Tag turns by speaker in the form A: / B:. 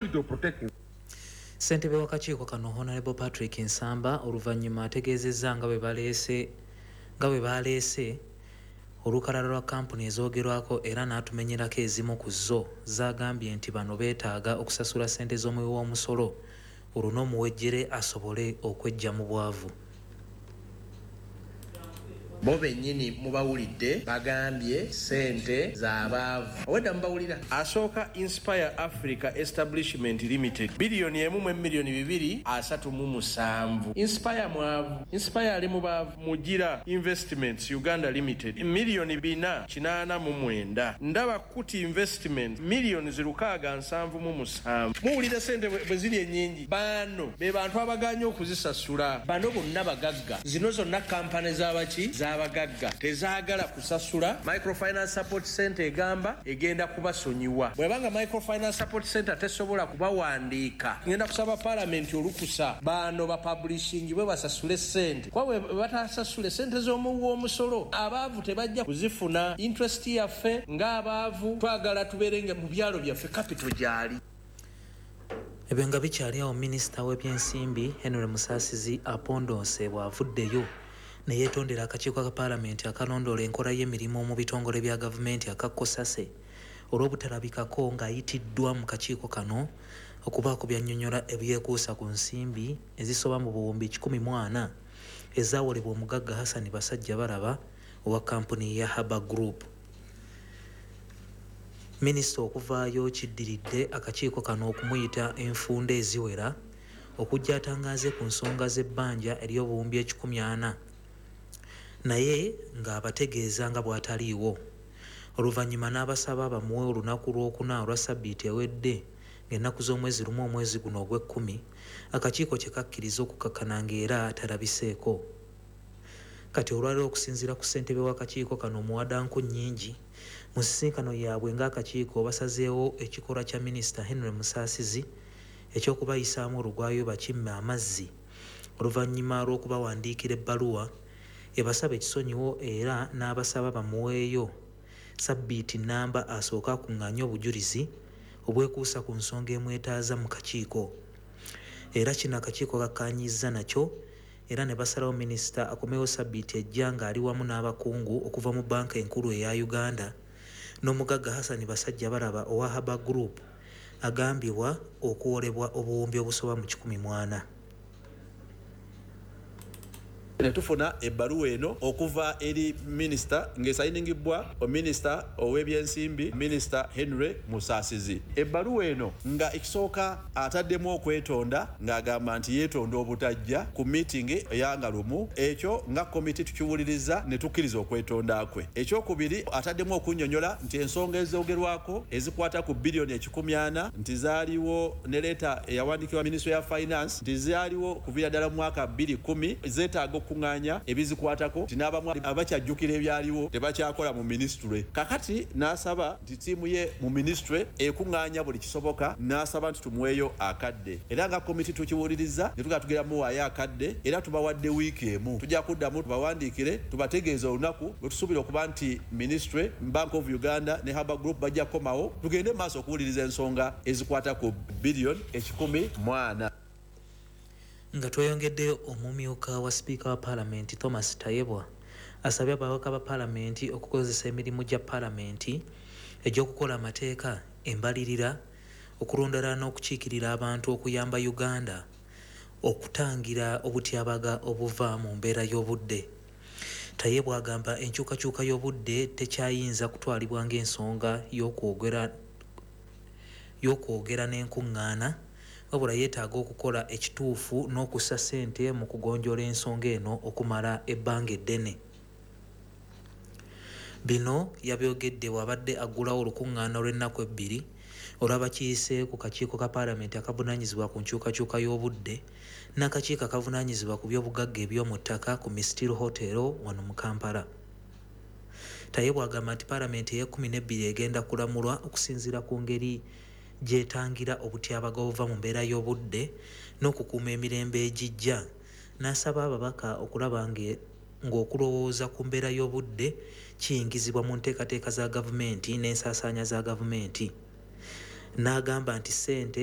A: Of protecting.
B: Ssentebe w'akakiiko kano, Honorable Patrick Nsamba, oluvannyuma ategeezezza nga bwe baleese olukalala lwa kampuni ezoogerwako era n'atumenyerako ezimu ku zo z'agambye nti bano beetaaga okusasula ssente z'omuwi w'omusolo olwo n'omuwejjere asobole okweggya mu bwavu.
C: Bo bennyini mubawulidde, bagambye sente z'abaavu. Obwedda mubawulira. Asooka, Inspire Africa Establishment Limited, 1 mu 237,000,000. Inspire mwavu? Inspire ali mu baavu? Mugira Investments Uganda Limited, 489,000,000. Ndaba Kuti Investment, 677,000,000. Muwulira sente bwe ziri ennyingi. Bano be bantu abaganye okuzisasula. Bano bonna bagagga. Zino zonna kampani z'abaki? Z'abagagga, tezaagala kusasula. Microfinance Support Center egamba egenda kubasonyiwa. Bwebanga Microfinance Support Center tesobola kubawandiika, ngenda kusaba Palamenti olukusa bano bapublishingibwe basasule sente, kuba bwe batasasule sente z'omuwi w'omusolo, abaavu tebajja kuzifuna. Interest yaffe ng'abaavu, twagala tubeere mu byalo byaffe, capital gyali.
B: Ebyo nga bikyali awo, minisita w'ebyensimbi Henry Musaasizi apondoose bw'avuddeyo ne yeetondera akakiiko ka Paalamenti akalondoola enkola y'emirimu mu bitongole bya gavumenti aka COSASE olw'obutalabikako ng'ayitiddwa mu kakiiko kano okubaako byannyonnyola ebyekuusa ku nsimbi ezisoba mu 140,000 ezaawolebwa omugagga Hassan Basajja Balaba owa kampuni ya Haba Group. Minisita okuvaayo kiddiridde akakiiko kano okumuyita enfunda eziwera okujja atangaaze ku nsonga z'ebbanja ery'obuwumbi 140, naye ng'abategeeza nga bw'ataliiwo. Oluvannyuma n'abasaba bamuwe olunaku lwokuna olwa sabbiiti ewedde, ng'ennaku z'omwezi 1 omwezi guno ogw'ekkumi, akakiiko kye kakkiriza okukakkana ng'era talabiseeko. Kati olwaleero, okusinziira ku ssentebe w'akakiiko kano Muwadanku Nnyingi, mu nsisinkano yaabwe ng'akakiiko basazeewo ekikolwa kya minisita Henry Musaasizi ekyokubayisaamu olugwayo bakimme amazzi oluvannyuma lw'okubawandiikira ebbaluwa ebasaba ekisonyiwo, era n'abasaba bamuweeyo sabbiiti namba asooke akuŋŋaanye obujulizi obwekuusa ku nsonga emwetaaza mu kakiiko. Era kino akakiiko kakkaanyizza nakyo era ne basalawo minisita akomewo sabbiiti ejja ng'ali wamu n'abakungu okuva mu Banka Enkulu eya Uganda n'omugagga Hassan Basajja Balaba owa Haba Group agambibwa okuwolebwa obuwumbi obusoba mu 140.
D: Ne tufuna ebbaluwa eno okuva eri minisita ng'esayiningibwa minisita ow'ebyensimbi, Minisita Henry Musaasizi. Ebbaluwa eno nga ekisooka ataddemu okwetonda ng'agamba nti yeetonda obutajja ku meeting eyanga lumu. Ekyo nga komiti tukiwuliriza ne tukkiriza okwetonda kwe. Ekyokubiri, ataddemu okunnyonnyola nti ensonga ezoogerwako ezikwata ku 140,000,000 nti zaaliwo ne letter eyawandiikibwa Minisitule ya Finance, nti zaaliwo kuviira ddala mu mwaka 2010, zeetaaga okukuŋŋaanya ebizikwatako, nti n'abamu abakyajjukira ebyaliwo tebakyakola mu minisitule. Kakati n'asaba nti ttiimu ye mu minisitule ekuŋŋaanya buli kisoboka, n'asaba nti tumuweeyo akadde. Era nga komiti tukiwuliriza ne tugaa tugenda muwaayo akadde, era tubawadde wiiki emu. Tujja kuddamu tubawandiikire tubategeeze olunaku lwe tusuubira okuba nti minisitule, Bank of Uganda ne Haba Group bajja kukomawo tugende maaso okuwuliriza ensonga ezikwata ku 140,000,000.
B: Nga tweyongeddeyo, omumyuka wa sipiika wa Paalamenti Thomas Tayebwa asabye ababaka ba Paalamenti okukozesa emirimu gya Paalamenti egy'okukola amateeka, embalirira, okulondoola n'okukiikirira abantu okuyamba Uganda okutangira obutyabaga obuva mu mbeera y'obudde. Tayebwa agamba enkyukakyuka y'obudde tekyayinza kutwalibwa ng'ensonga y'okwogera n'enkuŋŋaana, wabula yeetaaga okukola ekituufu n'okussa ssente mu kugonjoola ensonga eno okumala ebbanga eddene. Bino yabyogedde bw'abadde aggulawo olukuŋŋaana olw'ennaku 2 olw'abakiise ku kakiiko ka Paalamenti akavunaanyizibwa ku nkyukakyuka y'obudde n'akakiiko akavunaanyizibwa ku by'obugagga eby'omu ttaka ku Mistil Hotel wano mu Kampala. Tayebwa agamba nti Paalamenti ey'e12 egenda kulamulwa okusinziira ku ngeri gy'etangira obutyabaga obuva mu mbeera y'obudde n'okukuuma emirembe egijja, n'asaba ababaka okulaba ng'okulowooza ku mbeera y'obudde kiyingizibwa mu nteekateeka za gavumenti n'ensaasaanya za gavumenti. N'agamba nti ssente